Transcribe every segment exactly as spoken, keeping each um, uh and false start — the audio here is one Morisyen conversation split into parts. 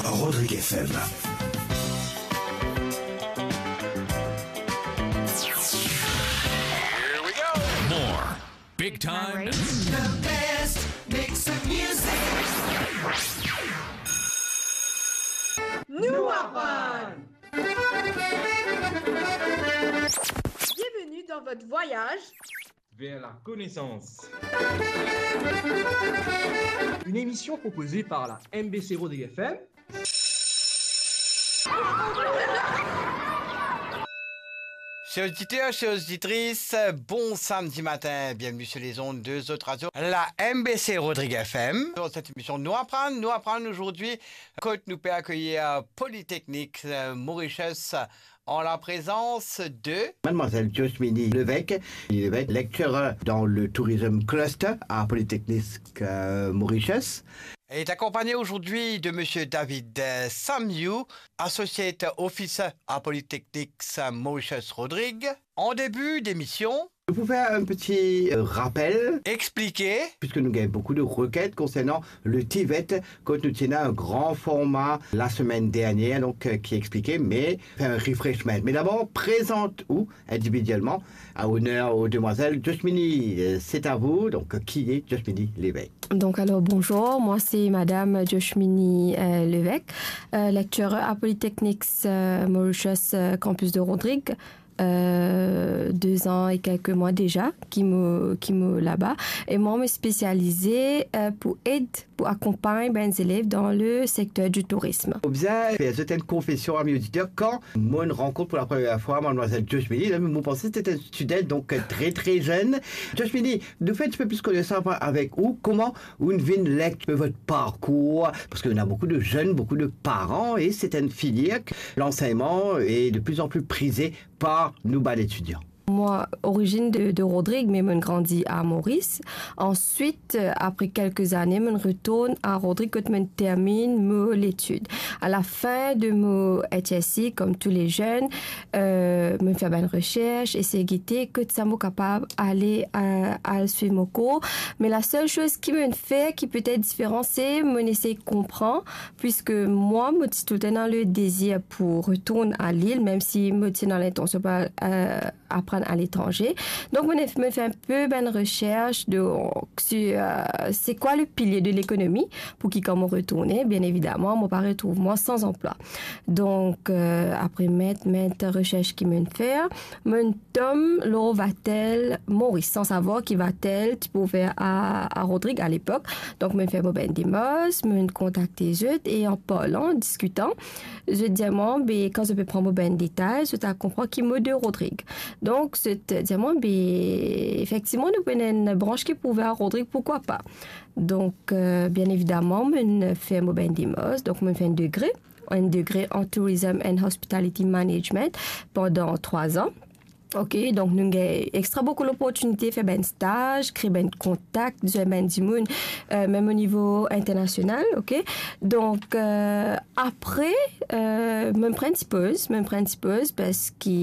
Rodrigue F M. More big time. The best mix of music. Nou aprann. Bienvenue dans votre voyage vers la connaissance. Une émission proposée par la M B C Rodrigue F M. Chers auditeurs, chères auditrices, bon samedi matin, bienvenue sur les ondes de Zot Radio, la M B C Rodrigue F M. Dans cette émission, nou aprann, nou aprann aujourd'hui, kot nou pe akeyir Polytechnique, euh, Mauritius, en la présence de Mademoiselle Joshmini Levesque, Levesque, lecturer dans le Tourism Cluster à Polytechnique, euh, Mauritius. Elle est accompagnée aujourd'hui de Monsieur David, euh, Samiou, Associate Officer à Polytechnique Mauritius Rodrigue. En début d'émission, pour faire un petit, euh, rappel, expliquer, puisque nous avons beaucoup de requêtes concernant le TVET, kot nou ti ena un grand format la semaine dernière, donc, euh, qui expliquait, mais faire un refreshment. Mais d'abord, présente-vous individuellement à honneur aux demoiselles. Joshmini, euh, c'est à vous. Donc, qui est Joshmini Levesque ? Donc, alors, bonjour, moi, c'est Madame Joshmini, euh, Levesque, euh, lecturer à Polytechnique, euh, Mauritius, euh, campus de Rodrigue. Euh, deux ans et quelques mois déjà ki mo, ki mo laba. E mwa, mo spesialize, euh, pou ed, pou akonpagn bann zelev dan le sekter di tourism. Obzerv, zot enn konfesion, ami oditer, kan mo rankontre pou la première fois Mademoiselle Joshmini, mo panse se enn student, donc, euh, très, très jeune. Joshmini, nous fais un petit peu plus connaissance avec vous. Comment vous venez lecturer votre parcours ? Parce qu'il y a beaucoup de jeunes, beaucoup de parents, et c'est une filière que l'enseignement est de plus en plus prisé par nou bann etidian. Mwa, origine de, de Rodrigue, me mo'nn grandi à Maurice. Ensuite, euh, après quelques années, mo'nn retourn à Rodrigue kot mo'nn termine mo letid. À la fin de mo H S C, comme tous les jeunes, euh, mo'nn fer bann recherche, esey gete kot sa mo kapav ale, euh, al swiv mo kour. Me la sel soz ki mo'nn fer ki petet diferan, se mo'nn esey konpran, puiske mwa, mo ti toultan ena le dezir pou retourn à Lille, mem si mo ti ena lintansion pou al, euh, aprann aletranze. Donk, mo'nn, mo'nn fer inpe bann recherche de, sur, euh, c'est quoi le pilier de l'économie, pou ki kan mo retourne, bien évidemment, mo pa retrouv mwa san anplwa. Donk, euh, après maintes, maintes recherches ki mo'nn fer, mo'nn tom lor Vatel Maurice, san savoir ki Vatel ti pe ouver à, à Rodrigue à l'époque. Donk, mo'nn fer mo bann demarch, mo'nn kontakte zot, e an parlan, diskitan, zot dir mwa, be, kan zot pe pran mo bann detay, zot al konpran ki mo de Rodrigue. Donk, zot dir mwa, be, efektivman, nou pou ena enn branch ki pou ouver à Rodrigue, pourquoi pas ? Donk, euh, bien évidemment, mo'nn fer mo bann demarch, donk mo'nn fer enn degre, enn degre en Tourism and Hospitality Management pandan trwa an. Ok, donk nou gagn extra boukou loportinite fer bann staz, kre bann kontak, zwenn bann dimoun, euh, mem o nivo internasional, ok. Donk, euh, apre, euh, mo'nn pran ti poz, mo'nn pran ti poz parski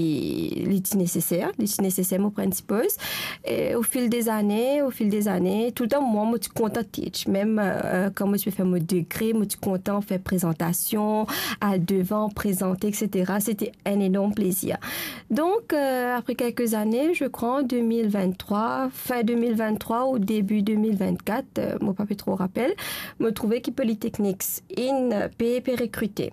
li ti neseser, li ti neseser mo pran ti poz. E au fil des années, au fil des années, toultan mwa, mo ti kontan teach. Mem, euh, kan mo ti pe fer mo degre, mo ti kontan fer prezantasion, al devan, prezante, et cetera. Se ti enn enorm plezir. Donk, euh, après quelques années, je crois en deux mille vingt-trois, fin deux mille vingt-trois ou début deux mille vingt-quatre, euh, mo pa pe tro rapel, mo trouve ki Polytechnique inn pe, pe rekrite.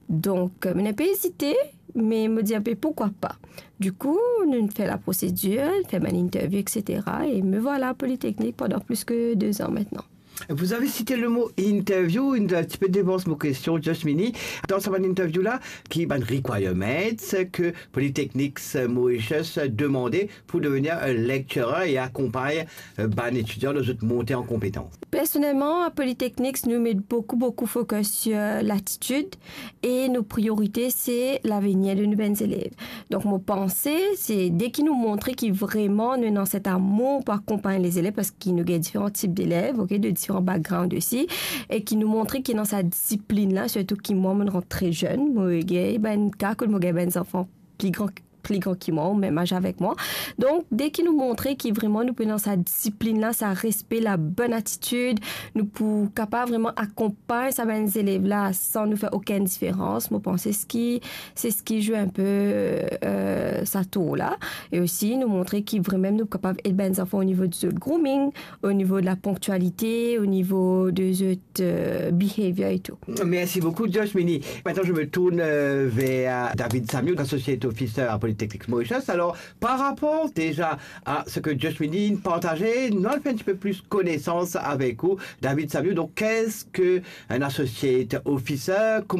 Donk, euh, mo'nn inpe ezite, me mo dir inpe, pourquoi pas ? Dikou, nou fer la prosedir, fer bann interview, et cetera. E me voilà à Polytechnique pendant plus que deux ans maintenant. Vous avez cité le mot interview, inn ti pe devans mo kestion, Joshmini. Dan sa bann interview la, ki bann requirements ke Polytechnique Mauritius demande pour devenir un lecturer et accompagner, euh, bann etidian dan zot monte an konpetans ? Personnellement, à Polytechnique, nou met boukou, boukou focus sur l'attitude e nou priorite se lavenir de nou bann zelev. Donk, mo panse, se deki nou montre ki vreman nou ena set amour pou akonpagn lezelev, parski nou gagn diferan tip delev, ok, de diferan background osi, e ki nou montre ki ena sa disiplinn la, sirtou ki mwa, mo'nn rant tre zenn, mo gagn bann ka kot mo gagn bann zanfan pli gran pli gran ki mwa, ou mem az avek mwa. Donk, deki nou montre ki vreman nou pou dan sa disiplinn la, sa respe, la bonn atitid, nou pou kapav vreman akonpagn sa bann zelev la san nou fer okenn diferans. Mo panse se ki, se ki zwe inpe, euh, sa tour la. E osi, nou montre ki vreman nou kapav ed bann zanfan o nivo di zot grooming, o nivo de la ponktialite, o nivo de zot, euh, behavior e tou. Merci beaucoup, Josh Mini. Maintenant, je me tourne, euh, vers David Samiou, Associate Officer à Polytechnics Mauritius. Alors, par rapport déjà à ce que Josh Mini partageait, nous allons faire un petit peu plus connaissance avec vous, David Samiou. Donc, qu'est-ce que un Associate Officer? Comment